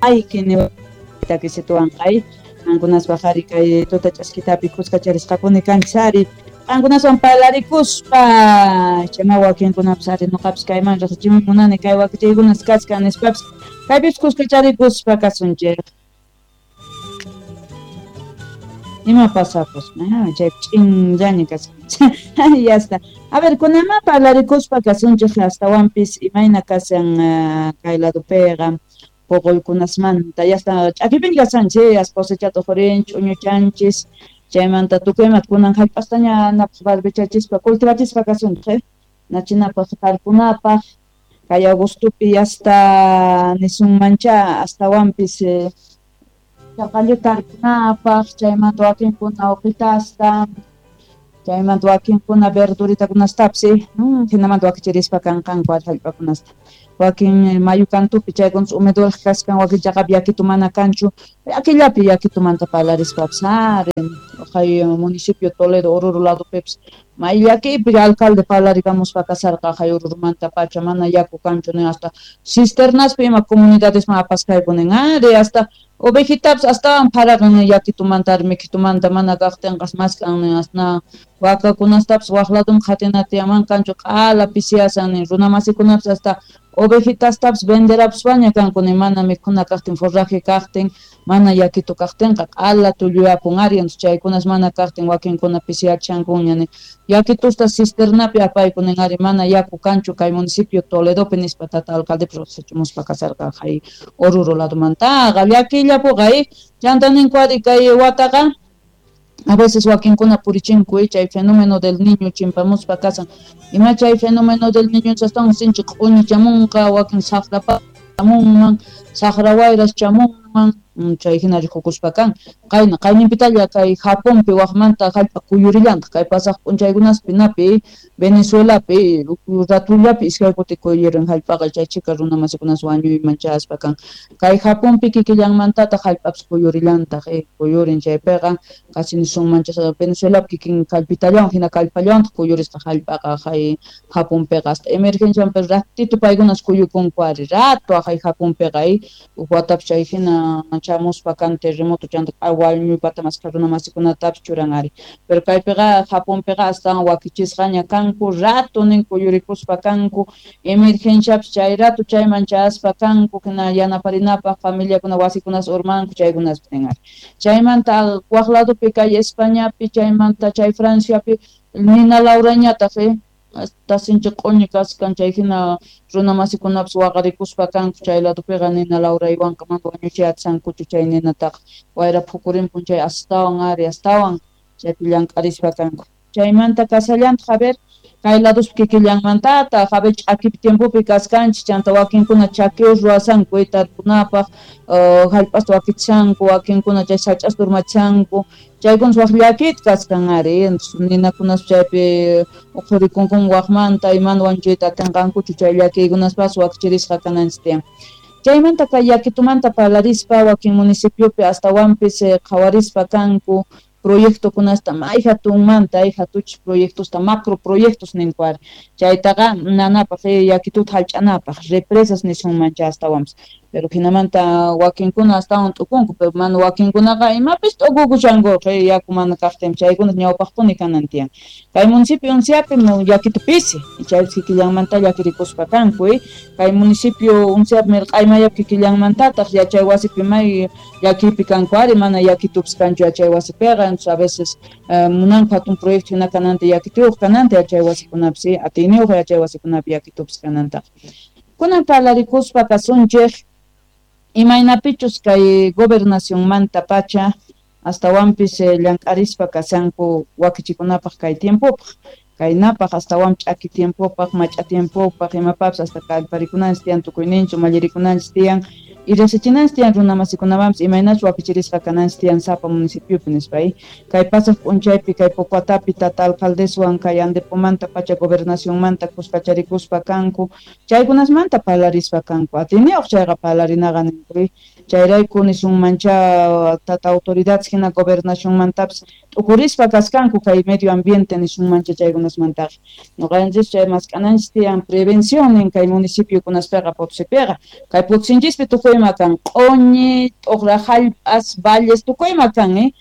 Aykini takisituwanqa qankunaspa ari kay tuta ch'askitapi kuskacharisqapuni kanchis ari qankunaswan parlarikuspa chayma wakinkunapis ari noqapis kayman riqsichimuy munani kay wakichaykunas kachkan nispapis kaypis kuskacharikuspa kasunchik. Ima pasapus, chay ch'inllaña kashan. Ya está. A ver, kunama parlarikuspa kasunchik astawanpis imayna kashan kay ladopiqa poqoykunasmanta ya está ch'akipin kashanchis as cosechata uqhurinchis ch'uñuchanchis chaymanta tukuy imata kunan jallp'astaña napaq barbechachispa cultivachispa kasunchik nachinapaq tarpunapaq kay agostopi ya está nisunmancha astawanpis chaqallu tarpunapaq chaymanta wakinkuna uqitasta chaymanta wakinkuna verduritakunastapis hinamanta wakichirispa kanqanku jallp'akunasta wakin mayu kantupi chaykunas humedolaj kaskan wakin chaqapi yakitu mana kanchu akillapi yakitumanta parlarispapis ari kay municipio Toledo Oruro ladopipis may llakipi alcalde parlarikamuspa kasarqa kay Orurumanta pacha mana yaku kanchu nin hasta cisternaspi ima comunidadesman apasqayku nin ari hasta ovejitapis astawan pharaqan nin yakitumanta ari mikitumanta mana kaqtinqas mask'an nin asna wakakunastapis waq ladoman qhatina tiyaman kanchu q'ala pisiyasan nin runamasikunapis hasta ovejitastapis venderapuspaña kanku nin mana mikhuna kaqtin forraje kaqtin mana yakitu kaqtinqa q'ala tulluyapun ari entonces chaykunas mana kaqtin wakinkuna pisiyachankuña nin yakitusta cisternapi apayku nin ari mana yaku kanchu kay municipio Toledopi nispa tata alcaldepis riqsichimuspa kasarqa kay Oruro ladomantaqa llakillapuqa chanta ninku ari kay wataqa a veces wakinkuna purichinku chay fenómeno del niño chimpamuspa kasan ima chay fenómeno del niño astawan sinchi q'uñi chamunqa wakin saqrapa chamunman saqra wayras chamunman chay hina rikukuspa kan qayna qayninpitalla kay Japonpi waqmanta jallp'a kuyurillantaq kay pasaq p'unchaykunaspi napi Venezuelapi ratullapi iskay kuti kuyurin jallp'aqa chay chika runamasikunas wañuyman chayaspa kan kay Japonpi kikillanmantataq jallp'apis kuyurillantaq kuyurin chaypiqa casi nisunman Venezuelapi kikin kallpitallawan hina kallpallawantaq kuyurisqa jallp'aqa kay Japonpiqa hasta emergenciapi ratito paykunas kuyukunku ari rato kay Japonpiqa uj watapi chay hina chamuspa kan terremoto chanta wañuypata maskha runamasikunatapis churan ari pero kaypiqa Japonpiqa astawan wakichisqaña kanku rato nin kuyurikuspa kanku emergenciapis chay rato chayman chayaspa kanku hina yanaparinapaq familiakuna wasikunas urmanku chaykunaspi nin ari chaymanta waq ladopi kay Españapi chaymanta chay Franciapi nina Laurañataq hasta sinchi q'uñi kaskan chay hina runamasikunapis waqarikuspa kanku chay ladopiqa nina Lauraywanqa mana wañuchiyatsankuchu chay ninataqa wayra phukurinpun chay astawan ari astawan chaypi llank'arispa kanku chaymanta kasallantaq a ver kay ladospi kikillanmantataq a ver ch'akipi tiempopi kaskanchis chanta wakinkuna chaqueos ruwasanku tarpunapaq jallp'asta wakichanku wakinkuna chay sach'asta urmachanku chaykunas waq llakita kaskan ari ninakunas chaypi uqhurikunkun waqmanta imana wañuchiyta atinqankuchu chay llakiykunaspas wakichirisqa kananchis tiyan chaymanta kay yakitumanta parlarispa wakin municipiopi astawanpis qhawarispa kanku proyectokunasta may hatunmanta hatuchis proyectosta macro proyectos ninku ari chaytaqa nanapaq yakituta jallch'anapaq represas nisunmancha astawanpis pero hinamanta wakinkuna astawan t'ukunku pero mana wakinkunaqa imapis t'ukukushankuqa yaku mana kaqtin chaykunas ñawpaqpuni kanan tiyan kay municipio Unciapi yakitu pisi chaypis kikillanmanta llakirikuspa kanku kay municipio Unciapi mirq'aymayapi kikillanmantataq yachay wasipi may llakiypi kanku ari mana yakitupis kanchu yachay wasipiqa entonces a veces munanku hatun proyecto hina kananta yakituyuq kananta yachay wasikunapis atiyniyuq yachay wasikunapi yakitupis kanantaqa kunan parlarikuspa kasunchik imaynapichus kay gobernacionmanta pacha astawanpis llank'arispa kasanku wakichikunapaq kay tiempopaq kaynapaq astawan ch'aki tiempopaq mach'a tiempopaq imapapis hasta kallparikunanchis tiyan tukuyninchik mallirikunanchis tiyan y riqsichinanchis tiyan runamasikunamanpis imaynachus wakichirisqa kananchis tiyan sapa municipiopi nispa kay pasaq p'unchaypi kay Pocuatapi tata alcaldeswan kay Andepomanta pacha gobernacionmanta kuskacharikuspa kanku chaykunasmanta parlarispa kanku atiyniyuq chayqa parlarinaqa ninku chayrayku nisunmancha tata autoridades hina gobernacionmantapis t'ukurispa kaskanku kay medio ambiente nisunmancha chaykunasmanta. chaykunasmantaqa noqanchis chay mask'ananchis tiyan prevención nin kay municipiokunaspiqa Potosipiqa kay Potosinchispi tukuyma kan q'uñi t'uqra jallp'as valles tukuyma kan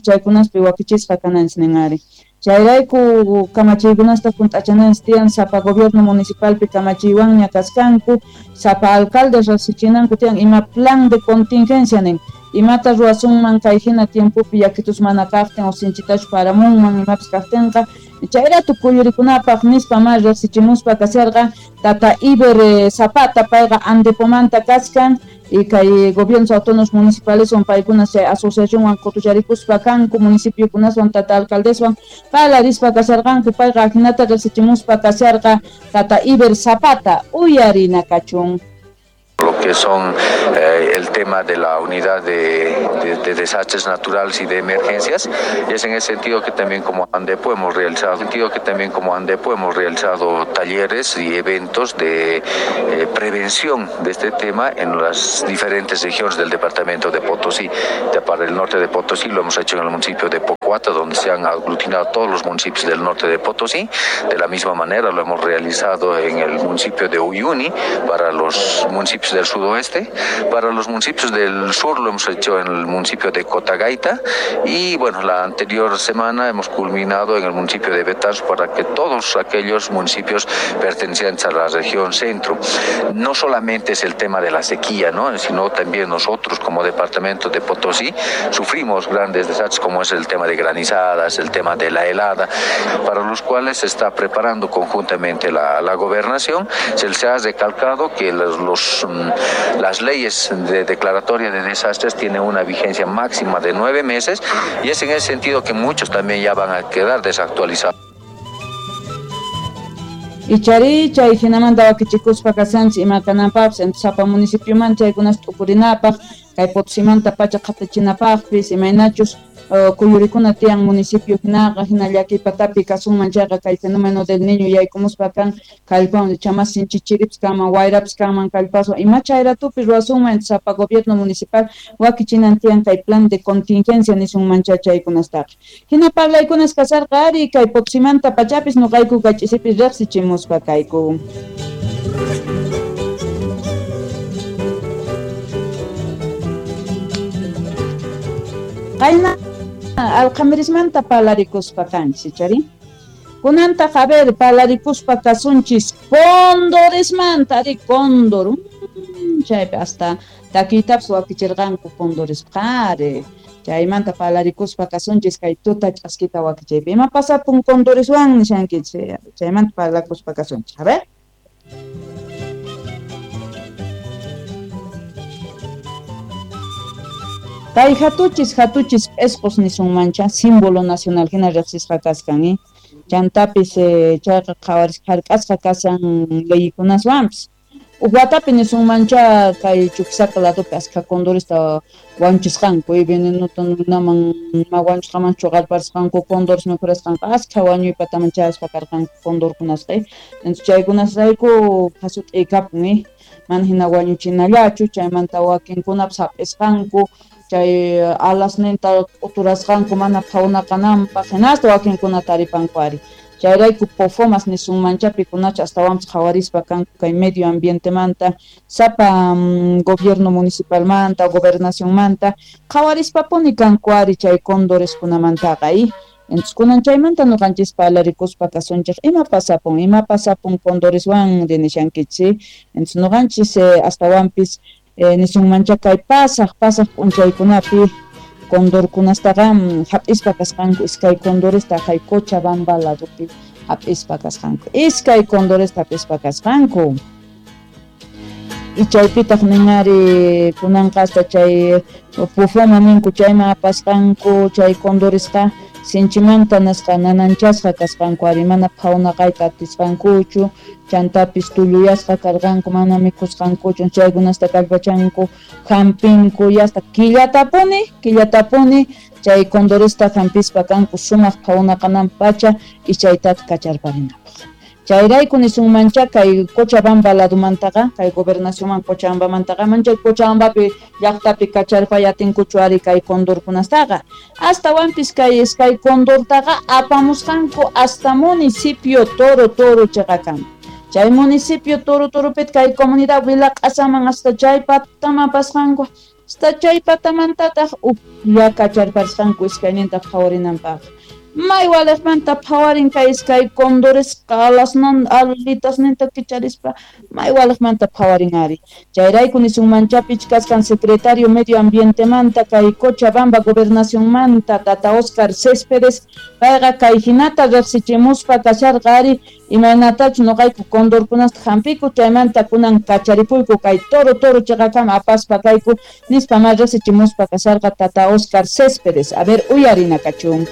chaykunaspi wakichisqa kananchis nin ari chayrayku kamachiykunasta junt'achananchis tiyan sapa gobierno municipalpi kamachiywanña kaskanku sapa alcalde riqsichinanku tiyan ima plan de contingencia nin imata ruwasunman kay hina tiempopi yakitus mana kaqtin o sinchitachu paramunman imapis kaqtinqa chayratu kuyurikunapaq nispa ma riqsichimuspa kasharqa tata Iber Zapata payqa Andepomanta kaskan y kay gobiernos autónomos municipales paykuna chay asociacionwan qutucharikuspa kanku municipiokunaswan tata alcaldeswan parlarispa kasharqanku payqa ajinata riqsichimuspa kasharqa tata Iber Zapata uyarina kachun. Lo que son el tema de la unidad de desastres naturales y de emergencias, y es en ese sentido que también como ANDEPO hemos realizado, talleres y eventos de prevención de este tema en las diferentes regiones del departamento de Potosí. Para el norte de Potosí lo hemos hecho en el municipio de Pocoata, donde se han aglutinado todos los municipios del norte de Potosí. De la misma manera lo hemos realizado en el municipio de Uyuni, para los municipios del sudoeste. Para los municipios del sur lo hemos hecho en el municipio de Cotagaita, y bueno, la anterior semana hemos culminado en el municipio de Betanzos para que todos aquellos municipios pertenecientes a la región centro. No solamente es el tema de la sequía, ¿no?, sino también nosotros como departamento de Potosí sufrimos grandes desastres como es el tema de granizadas, el tema de la helada, para los cuales se está preparando conjuntamente la gobernación. Se les ha recalcado que las leyes de declaratoria de desastres tienen una vigencia máxima de 9 meses, y es en ese sentido que muchos también ya van a quedar desactualizados. Ichari chay hinamanta wakichikuspa kasanchis ima kananpaqpis sapa municipioman chaykunas t'ukurinapaq kay Potosimanta pacha qhatachinapaqpis imaynachus kuyurikuna tiyan municipio hinaqa hina llakiypatapi kasunman chayqa kay fenómeno del niño yaykumuspa kan kallpawan chamas sinchichiripis kanman wayrapis kanman kallpaswan ima chayratupi ruwasunman sapa gobierno municipal wakichinan tiyan kay plan de contingencia nisunman chaykunastaqa hina parlaykunas kasarqa ari kay Potosimanta pachapis nuqayku kay ch'isipis riqsichimuspa kayku. Qayna alqamirismanta parlarikuspa kanchis chari kunantaq a ver parlarikuspa kasunchis cóndoresmanta ari cóndor chaypi hasta takiytapas wakichirqanku cóndoresqa ari chaymanta parlarikuspa kasunchis kay tuta ch'askita wakichaypi ima pasapun cóndoreswan nishankichis chaymanta parlakuspa kasunchis a ver. Kay hatuchis p'esqos nisunmancha símbolo nacional hina riqsisqa kaskan chantapis chayqa qhawarisqa hark'asqa kasan leykunaswanpis uj watapi nisunmancha kay Chuquisaca ladopi askha condoresta wañuchisqanku venenota nunaman ma wañuchisqaman chuqarparisqanku condores mikhurasqanqa askha wañuypataman chayaspa karqanku condorkunasqa entonces chaykunasrayku qhasut'ikapun mana hina wañuchinallachu chaymanta wakinkunapas hap'isqanku chay alasninta k'uturasqanku mana phawnakananpaq hinasta wakinkuna taripanku ari chayrayku pofomas nisunmancha pikunacha astawanpis qhawarispa kanku kay medio ambientemanta sapa gobierno municipalmanta gobernacionmanta qhawarispapuni kanku ari chay cóndoreskunamantaqa entonces kunan chaymanta nuqanchis parlarikuspa kasunchik ima pasapun cóndoreswan nishankichis entonces nuqanchis astawanpis nisunmancha kay pasaq p'unchaykunapi condorkunastaqa hap'ispa kasqanku iskay condoresta kay Cochabamba ladopi hap'ispa kasqanku iskay condoresta hap'ispa kasqanku y chaypitaq ninari kunanqa hasta chay pufoma ninku chayman apasqanku chay condoresqa sinchimanta nasqa nananchasqa kasqanku ari mana phawnaqayta atisqankuchu chantapis tulluyasqa karqanku mana mikhusqankuchu chaykunasta kallpachanku hampinku yasta killatapuni chay condoresta hampispa kanku sumaq phawnaqananpacha y chaytataq kacharparinapaq. Chayrayku nisunmancha kay Cochabamba ladumantaqa, kay gobernacionman Cochabambamantaqa, manchay Cochabambapi llaqtapi kacharpay atinkuchu ari kay condorkunastaqa. Astawanpis kay iskay condortaqa apamusqanku hasta municipio Toro Toro cheqakama. Chay municipio Toro Toropit kay comunidad Vilaq'asaman hasta chay pataman pasqanku. Hasta chay patamantataq uplla kacharparisqanku iskayninta phawarinanpaq. May waliqmanta phawarin kay iskay condoresqa alasnan alitasninta kicharispa may waliqmanta phawarin ari. Chayrayku nisunmancha pichkasqan secretario medio ambientemanta kay Cochabamba gobernacionmanta tata Oscar Céspedes payqa kay hinata riqsichimuspa kasharqa ari imaynatachus noqayku condorkunasta hampiku chaymanta kunan kacharipuyku kay Toro Toro cheqakama apaspa kayku nispa ma riqsichimuspa kasharqa tata Oscar Céspedes. A ver, uyarina kachun.